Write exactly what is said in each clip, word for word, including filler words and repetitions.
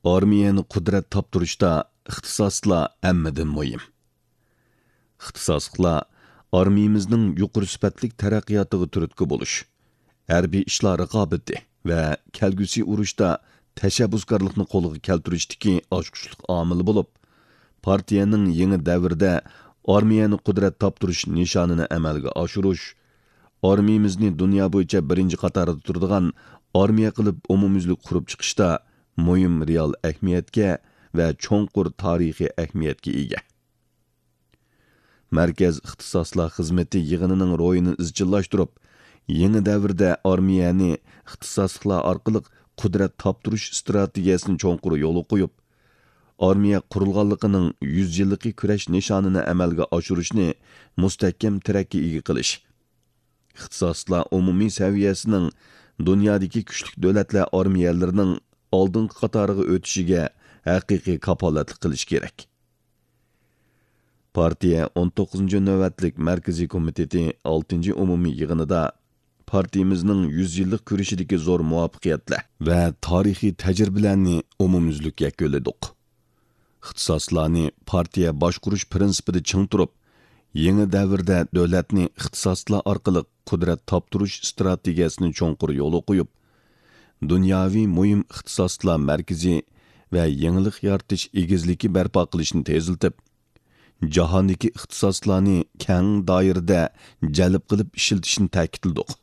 ئارمىيەنى قۇدرەت تاپتۇرۇشتا ئىختىساسلار ھەممىدىن مۇھىم. ئىختىساسلىقلار ئارمىيىمىزنىڭ يۇقىرى سۈپەتلىك تەرەققىياتىغا تۈرتكە بولۇش، ھەربىي ئىشلار رىقابىتى ۋە كەلگۈسى ئۇرۇشتا تەشەببۇسكارلىقنى قولغا كەلتۈرۈشتىكى ئاچقۇچلۇق ئامىلى بولۇپ، پارتىيەنىڭ يېڭى دەۋردە ئارمىيەنى قۇدرەت تاپتۇرۇش نىشانىنى ئەمەلگە ئاشۇرۇش، ئارمىيىمىزنى دۇنيا بويىچە بىرىنچى قاتاردا تۇرىدىغان ئارمىيە قىلىپ ئومۇميۈزلۈك قۇرۇپ چىقىشتا مۇھىم رېئال ئەھمىيەتكە ۋە چوڭقۇر تارىخىي ئەھمىيەتكە ئىگە. مەركەز ئىختىساسلار خىزمىتى يىغىنىنىڭ روھىنى ئىزچىللاشتۇرۇپ، يېڭى دەۋردە ئارمىيەنى ئىختىساسلىقلار ئارقىلىق قۇدرەت تاپتۇرۇش ئىستراتېگىيەسىنى چوڭقۇر يولغا قويۇپ، ئارمىيە قۇرۇلغانلىقىنىڭ يۈز يىللىقى كۈرەش نىشانىنى ئەمەلگە ئاشۇرۇشنى مۇستەھكەم تىرەككە ئىگە قىلىش، ئىختىساسلار ئومۇمىي سەۋىيەسىنىڭ دۇنيادىكى كۈچلۈك دۆلەتلەر ئارمىيەلىرىنىڭ ئالدىنقى قاتارىغا ئۆتۈشىگە ھەقىقىي كاپالەتلىك قىلىش كېرەك. پارتىيە ئون توققۇزىنچى نۆۋەتلىك مەركىزىي كومىتېتى ئالتىنچى ئومۇمىي يىغىنىدا پارتىيىمىزنىڭ يۈز يىللىق كۈرىشىدىكى زور مۇۋەپپەقىيەتلەر ۋە تارىخىي تەجرىبىلەرنى ئومۇميۈزلۈك يەكۈنلىدۇق. ئىختىساسلارنى پارتىيە باشقۇرۇش پىرىنسىپىدا چىڭ تۇرۇپ، يېڭى دەۋردە دۆلەتنى ئىختىساسلار ئارقىلىق قۇدرەت تاپتۇرۇش ئىستراتېگىيەسىنى چوڭقۇر يولغا قويۇپ، دۇنياۋى مۇھىم ئىختىساسلار مەركىزى ۋە يېڭىلىق يارىتىش ئېگىزلىكى بەرپا قىلىشنى تېزلىتىپ، جاھاندىكى ئىختىساسلارنى كەڭ دائىرىدە جەلپ قىلىپ ئىشلىتىشنى تەكىتلىدۇق.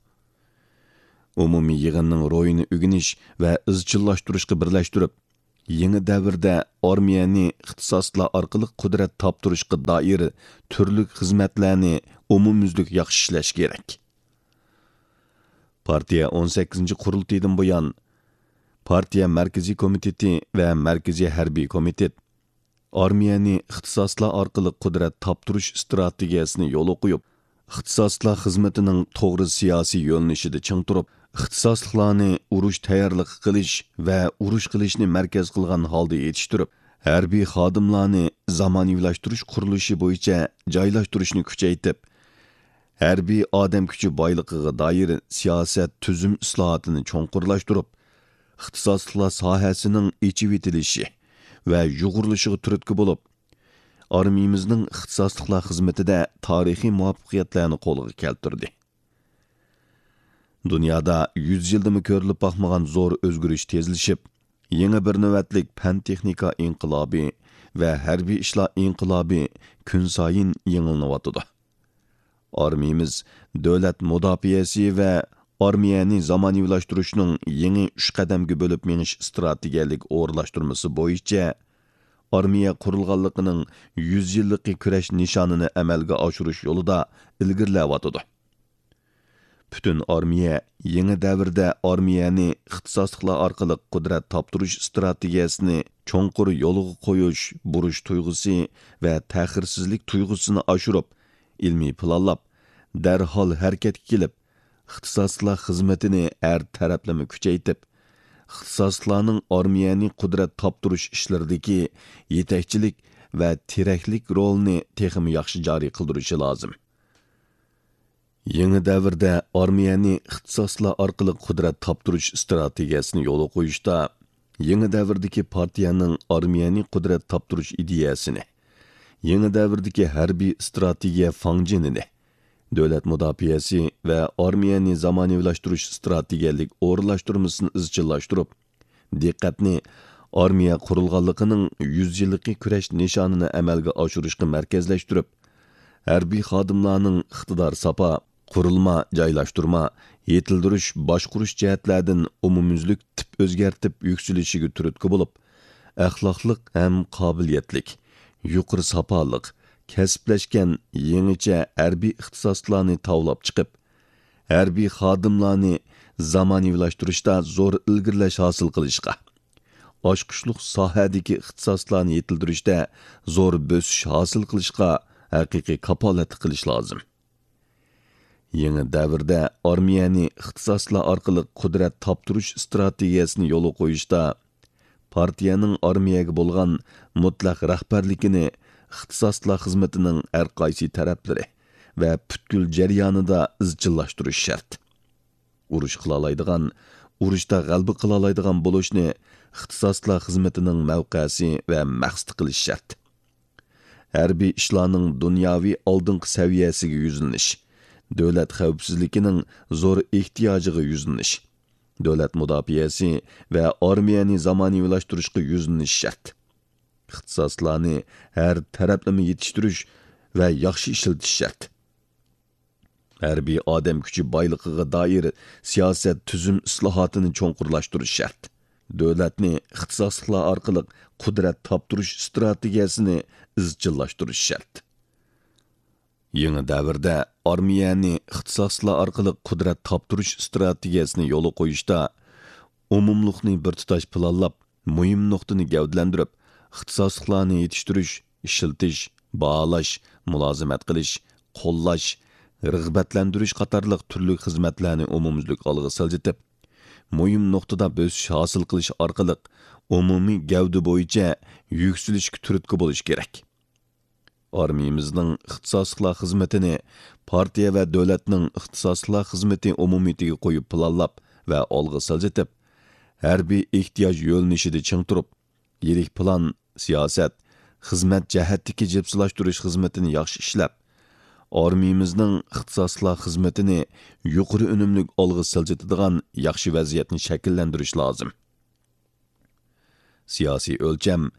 ئومۇمىي يىغىننىڭ روھىنى ئۆگىنىش ۋە ئىزچىللاشتۇرۇشقا بىرلەشتۈرۈپ، يېڭى دەۋردە ئارمىيەنى ئىختىساسلار ئارقىلىق قۇدرەت تاپتۇرۇشقا دائىر تۈرلۈك خىزمەتلەرنى ئومۇميۈزلۈك ياخشى ئىشلەش كېرەك. پارتىيە ئون سەككىزىنچى قۇرۇلتىيىدىن بۇيان، پارتىيە مەركىزىي كومىتېتى ۋە مەركىزىي ھەربىي كومىتېت ئارمىيەنى ئىختىساسلار ئارقىلىق قۇدرەت تاپتۇرۇش ئىستراتېگىيەسىنى يولغا قويۇپ، ئىختىساسلار خىزمىتىنىڭ توغرا سىياسىي يۆنىلىشىدە چىڭ تۇرۇپ، ئىختىساسلىقلارنى ئۇرۇش تەييارلىقى قىلىش ۋە ئۇرۇش قىلىشنى مەركەز قىلغان ھالدا يېتىشتۈرۈپ، ھەربىي خادىملارنى زامانىۋىلاشتۇرۇش قۇرۇلۇشى بويىچە جايلاشتۇرۇشنى كۈچەيتىپ، ھەربىي ئادەم كۈچى بايلىقىغا دائىر سىياسەت تۈزۈم ئىسلاھاتىنى چوڭقۇرلاشتۇرۇپ، ئىختىساسلىقلار ساھەسىنىڭ ئېچىۋېتىلىشى ۋە يۇغۇرۇلۇشىغا تۈرتكە بولۇپ، ئارمىيىمىزنىڭ ئىختىساسلىقلار خىزمىتىدە تارىخىي مۇۋەپپەقىيەتلەرنى قولغا كەلتۈردى. دۇنيادا يۈز يىلدىمۇ كۆرۈلۈپ باقمىغان زور ئۆزگىرىش تېزلىشىپ، يېڭى بىر نۆۋەتلىك پەن-تېخنىكا ئىنقىلابى ۋە ھەربىي ئىشلار ئىنقىلابى كۈنسايىن يېڭىلىنىۋاتىدۇ. ئارمىيىمىز دۆلەت مۇداپىئەسى ۋە ئارمىيەنى زامانىۋىلاشتۇرۇشنىڭ يېڭى ئۈچ قەدەمگە بۆلۈپ مېڭىش ئىستراتېگىيەلىك ئورۇنلاشتۇرمىسى بويىچە ئارمىيە قۇرۇلغانلىقىنىڭ يۈز يىللىقى كۈرەش نىشانىنى ئەمەلگە ئاشۇرۇش يولىدا ئىلگىرىلەۋاتىدۇ. پۈتۈن ئارمىيە يېڭى دەۋردە ئارمىيەنى ئىختىساسلىقلار ئارقىلىق قۇدرەت تاپتۇرۇش ئىستراتېگىيەسىنى چوڭقۇر يولغا قويۇش بۇرچ تۇيغۇسى ۋە تەخىرسىزلىك تۇيغۇسىنى ئاشۇرۇپ، ئىلمىي پىلانلاپ، دەرھال ھەرىكەتكە كېلىپ، ئىختىساسلىقلار خىزمىتىنى ھەر تەرەپلىمە كۈچەيتىپ، ئىختىساسلىقلارنىڭ ئارمىيەنى قۇدرەت تاپتۇرۇش ئىشلىرىدىكى يېتەكچىلىك ۋە تىرەكلىك رولىنى تېخىمۇ ياخشى جارى قىلدۇرۇشى لازىم. يېڭى دەۋردە ئارمىيەنى ئىختىساسلار ئارقىلىق قۇدرەت تاپتۇرۇش ئىستراتېگىيەسىنى يولغا قويۇشتا، يېڭى دەۋردىكى پارتىيەنىڭ ئارمىيەنى قۇدرەت تاپتۇرۇش ئىدىيەسىنى، يېڭى دەۋردىكى ھەربىي ئىستراتېگىيە فاڭجېنىنى، دۆلەت مۇداپىئەسى ۋە ئارمىيەنى زامانىۋىلاشتۇرۇش ئىستراتېگىيەلىك ئورۇنلاشتۇرمىسىنى ئىزچىللاشتۇرۇپ، دىققەتنى ئارمىيە قۇرۇلغانلىقىنىڭ يۈز يىللىقى كۈرەش نىشانىنى ئەمەلگە ئاشۇرۇشقا مەركەزلەشتۈرۈپ، ھەربىي خادىملارنىڭ ئىقتىدار ساپا، قۇرۇلما، جايلاشتۇرما، يېتىلدۈرۈش، باشقۇرۇش جەھەتلەردىن ئومۇميۈزلۈك تىپ ئۆزگەرتىپ يۈكسىلىشىگە تۈرتكە بولۇپ، ئەخلاقلىق ھەم قابىلىيەتلىك، يۇقىرى ساپالىق، كەسىپلەشكەن يېڭىچە ھەربىي ئىختىساسلارنى تاۋلاپ چىقىپ، ھەربىي خادىملارنى زامانىۋىلاشتۇرۇشتا زور ئىلگىرىلەش ھاسىل قىلىشقا، ئاچقۇچلۇق ساھەدىكى ئىختىساسلارنى يېتىلدۈرۈشتە زور بۆسۈش ھاسىل قىلىشقا ھەقىقىي كاپالەتلىك قىلىش لازىم. يېڭى دەۋردە ئارمىيەنى ئىختىساسلار ئارقىلىق قۇدرەت تاپتۇرۇش ئىستراتېگىيەسىنى يولغا قويۇشتا، پارتىيەنىڭ ئارمىيەگە بولغان مۇتلەق رەھبەرلىكىنى ئىختىساسلار خىزمىتىنىڭ ھەر قايسى تەرەپلىرى ۋە پۈتكۈل جەريانىدا ئىزچىللاشتۇرۇش شەرت. ئۇرۇش قىلالايدىغان، ئۇرۇشتا غەلىبە قىلالايدىغان بولۇشنى ئىختىساسلىقلار خىزمىتىنىڭ مەۋقەسى ۋە مەقسىتى قىلىش شەرت. ھەربىي ئىشلارنىڭ دۇنياۋى ئالدىنقى سەۋىيەسىگە يۈزلىنىش، دۆلەت خەۋپسىزلىكىنىڭ زور ئېھتىياجىغا يۈزلىنىش، دۆلەت مۇداپىئەسى ۋە ئارمىيەنى زامانىۋىلاشتۇرۇشقا يۈزلىنىش شەرت. ئىختىساسلارنى ھەر تەرەپلىمە يېتىشتۈرۈش ۋە ياخشى ئىشلىتىش شەرت. ھەربىي ئادەم كۈچى بايلىقىغا دائىر سىياسەت تۈزۈم ئىسلاھاتىنى چوڭقۇرلاشتۇرۇش شەرت. دۆلەتنى ئىختىساسلىقلار ئارقىلىق قۇدرەت تاپتۇرۇش ئىستراتېگىيەسىنى ئىزچىللاشتۇرۇش شەرت. يېڭى دەۋردە ئارمىيەنى ئىختىساسلىقلار ئارقىلىق قۇدرەت تاپتۇرۇش ئىستراتېگىيەسىنى يولغا قويۇشتا، ئومۇملۇقنى بىر تۇتاش پىلانلاپ، مۇھىم نۇقتىنى گەۋدىلەندۈرۈپ، ئىختىساسلىقلارنى يېتىشتۈرۈش، ئىشلىتىش، باھالاش، مۇلازىمەت قىلىش، قوللاش، رىغبەتلەندۈرۈش قاتارلىق تۈرلۈك خىزمەتلەرنى ئومۇميۈزلۈك ئالغا سىلجىتىپ، مۇھىم نۇقتىدا بۆسۈش ھاسىل قىلىش ئارقىلىق ئومۇمىي گەۋدە بويىچە يۈكسىلىشكە تۈرتكە بولۇش كېرەك. ئارمىيىمىزنىڭ ئىختىساسلىقلار خىزمىتىنى پارتىيە ۋە دۆلەتنىڭ ئىختىساسلىقلار خىزمىتى ئومۇمىيىتىگە قويۇپ پىلانلاپ ۋە ئالغا سىلجىتىپ، ھەربىي ئېھتىياج يۆنىلىشىدە چىڭ تۇرۇپ، يىرىك پىلان، سىياسەت، خىزمەت جەھەتتىكى جىپسىلاشتۇرۇش خىزمىتىنى ياخشى ئىشلەپ، ئارمىيىمىزنىڭ ئىختىساسلىقلار خىزمىتىنى يۇقىرى ئۈنۈملۈك ئالغا سىلجىتىدىغان ياخشى ۋەزىيەتنى شەكىللەندۈرۈش لازىم. سىياسىي ئۆلچەم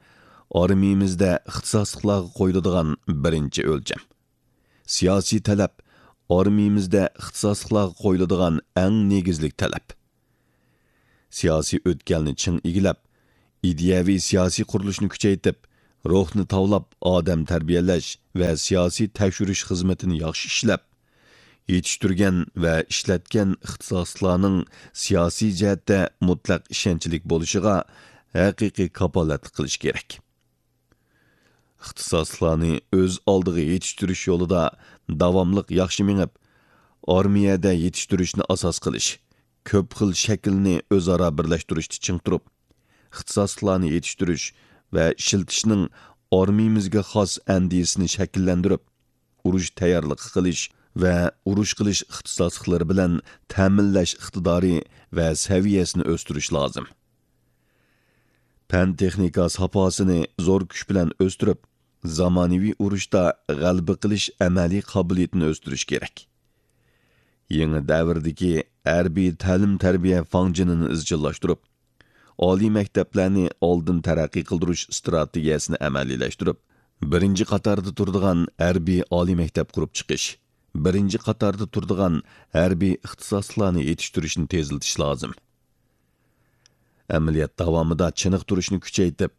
ئارمىيىمىزدە ئىختىساسلىقلارغا قويۇلىدىغان بىرىنچى ئۆلچەم. سىياسىي تەلەپ ئارمىيىمىزدە ئىختىساسلىقلارغا قويۇلىدىغان ئەڭ نېگىزلىك تەلەپ. سىياسىي ئۆتكەلنى چىڭ ئىگىلەپ، ئىدىيەۋى سىياسىي قۇرۇلۇشنى كۈچەيتىپ، روھنى تاۋلاپ ئادەم تەربىيەلەش ۋە سىياسىي تەكشۈرۈش خىزمىتىنى ياخشى ئىشلەپ، يېتىشتۈرگەن ۋە ئىشلەتكەن ئىختىساسلىقلارنىڭ سىياسىي جەھەتتە مۇتلەق ئىشەنچلىك بولۇشىغا ھەقىقىي كاپالەتلىك قىلىش كېرەك. ئىختىساسلىقلارنى ئۆز ئالدىغا يېتىشتۈرۈش يولىدا داۋاملىق ياخشى مېڭىپ، ئارمىيەدە يېتىشتۈرۈشنى ئاساس قىلىش، كۆپ خىل شەكىلنى ئۆزئارا بىرلەشتۈرۈشتە چىڭ تۇرۇپ، ئىختىساسلىقلارنى يېتىشتۈرۈش ۋە ئىشلىتىشنىڭ ئارمىيىمىزگە خاس ئەندىزىسىنى شەكىللەندۈرۈپ، ئۇرۇش تەييارلىقى قىلىش ۋە ئۇرۇش قىلىش ئىختىساسلىقلىرى بىلەن تەمىنلەش ئىقتىدارى ۋە سەۋىيەسىنى ئۆستۈرۈش لازىم. پەن-تېخنىكا ساپاسىنى زور كۈچ بىلەن ئۆستۈرۈپ، زامانىۋى ئۇرۇشتا غەلىبە قىلىش ئەمەلىي قابىلىيىتىنى ئۆستۈرۈش كېرەك. يېڭى دەۋردىكى ھەربىي تەلىم-تەربىيە فاڭجېنىنى ئىزچىللاشتۇرۇپ، ئالىي مەكتەپلەرنى ئالدىن تەرەققىي قىلدۇرۇش ئىستراتېگىيەسىنى ئەمەلىيلەشتۈرۈپ، بىرىنچى قاتاردا تۇرىدىغان ھەربىي ئالىي مەكتەپ قۇرۇپ چىقىش، بىرىنچى قاتاردا تۇرىدىغان ھەربىي ئىختىساسلارنى يېتىشتۈرۈشنى تېزلىتىش لازىم. ئەمەلىيەت داۋامىدا چېنىقتۇرۇشنى كۈچەيتىپ،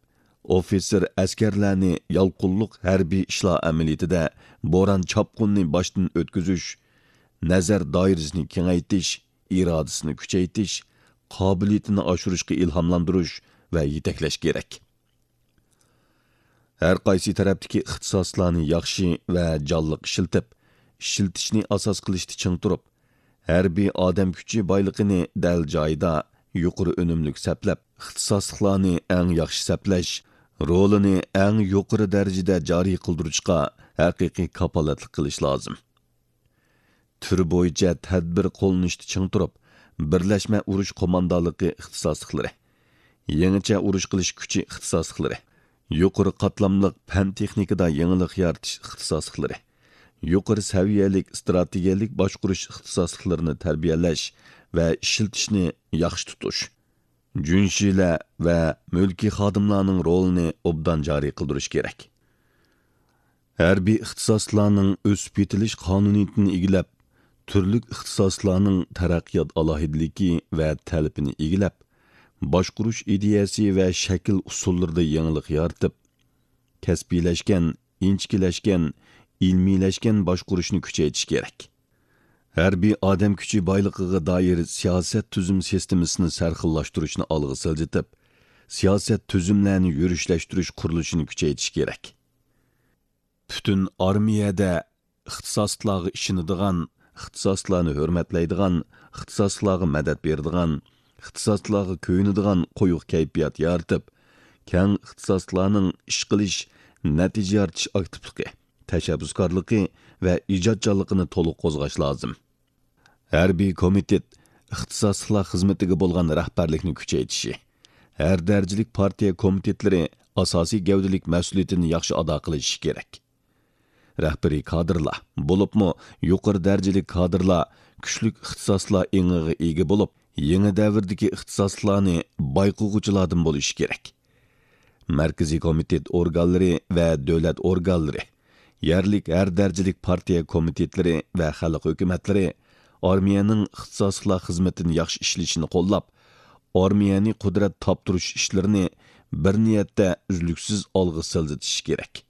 ئوفىتسېر ئەسكەرلەرنى يالقۇنلۇق ھەربىي ئىشلار ئەمەلىيىتىدە بوران-چاپقۇننى باشتىن ئۆتكۈزۈش، نەزەر دائىرىسىنى كېڭەيتىش، ئىرادىسىنى كۈچەيتىش، قابىلىيىتىنى ئاشۇرۇشقا ئىلھاملاندۇرۇش ۋە يېتەكلەش كېرەك. ھەر قايسى تەرەپتىكى ئىختىساسلارنى ياخشى ۋە جانلىق ئىشلىتىپ، ئىشلىتىشنى ئاساس قىلىشتا چىڭ تۇرۇپ، ھەربىي ئادەم كۈچى بايلىقىنى دەل جايىدا، يۇقىرى ئۈنۈملۈك سەپلەپ، ئىختىساسلىقلارنى ئەڭ ياخشى سەپلەش، رولىنى ئەڭ يۇقىرى دەرىجىدە جارى قىلدۇرۇشقا ھەقىقىي كاپالەتلىك قىلىش لازىم. تۈر بويىچە تەدبىر قوللىنىشتا چىڭ تۇرۇپ، بىرلەشمە ئۇرۇش قوماندانلىقى ئىختىساسلىقلىرى، يېڭىچە ئۇرۇش قىلىش كۈچى ئىختىساسلىقلىرى، يۇقىرى قاتلاملىق پەن-تېخنىكىدا يېڭىلىق يارىتىش ئىختىساسلىقلىرى، يۇقىرى سەۋىيەلىك ئىستراتېگىيەلىك باشقۇرۇش ئىختىساسلىقلىرىنى تەربىيەلەش ۋە ئىشلىتىشنى ياخشى تۇتۇش، جۈنشىلە ۋە مۈلكىي خادىملارنىڭ رولىنى ئوبدان جارى قىلدۇرۇش كېرەك. ھەربىي ئىختىساسلارنىڭ ئۆسۈپ يېتىلىش قانۇنىيىتىنى ئىگىلەپ، تۈرلۈك ئىختىساسلارنىڭ تەرەققىيات ئالاھىدىلىكى ۋە تەلىپىنى ئىگىلەپ، باشقۇرۇش ئىدىيەسى ۋە شەكىل ئۇسۇللىرىدا يېڭىلىق يارىتىپ، كەسپىيلەشكەن، ئىنچىكىلەشكەن، ئىلمىيلەشكەن باشقۇرۇشنى كۈچەيتىش كېرەك. ھەربىي ئادەم كۈچى بايلىقىغا دائىر سىياسەت تۈزۈم سىستېمىسىنى سەرخىللاشتۇرۇشنى ئالغا سىلجىتىپ، سىياسەت تۈزۈملەرنى يۈرۈشلەشتۈرۈش قۇرۇلۇشىنى كۈچەيتىش كېرەك. پۈتۈن ئارمىيەدە ئىختىساسلىقلارغا ئىشىنىدىغان، ئىختىساسلىقلارنى ھۆرمەتلەيدىغان، ئىختىساسلىقلارغا مەدەت بېرىدىغان، ئىختىساسلىقلارغا كۆيۈنىدىغان قويۇق كەيپىيات يارىتىپ، كەڭ ئىختىساسلىقلارنىڭ ئىش قىلىش، نەتىجە يارىتىش ئاكتىپلىقى، تەشەببۇسكارلىقى ۋە ئىجادچانلىقىنى تولۇق قوزغاش لازىم. ھەربىي كومىتېت ئىختىساسلىقلار خىزمىتىگە بولغان رەھبەرلىكنى كۈچەيتىشى، ھەر دەرىجىلىك پارتىيە كومىتېتلىرى ئاساسىي گەۋدىلىك مەسئۇلىيىتىنى ياخشى ئادا قىلىشى كېرەك. رەھبىرىي كادىرلار، بولۇپمۇ يۇقىرى دەرىجىلىك كادىرلار كۈچلۈك ئىختىساسلار ئېڭىغا ئىگە بولۇپ، يېڭى دەۋردىكى ئىختىساسلارنى بايقىغۇچىلاردىن بولۇشى كېرەك. مەركىزىي كومىتېت ئورگانلىرى ۋە دۆلەت ئورگانلىرى، يەرلىك ھەر دەرىجىلىك پارتىيە كومىتېتلىرى ۋە خەلق ھۆكۈمەتلىرى ئارمىيەنىڭ ئىختىساسلىقلار خىزمىتىنى ياخشى ئىشلىشىنى قوللاپ، ئارمىيەنى قۇدرەت تاپتۇرۇش ئىشلىرىنى بىر نىيەتتە ئۈزلۈكسىز ئالغا سىلجىتىشى كېرەك.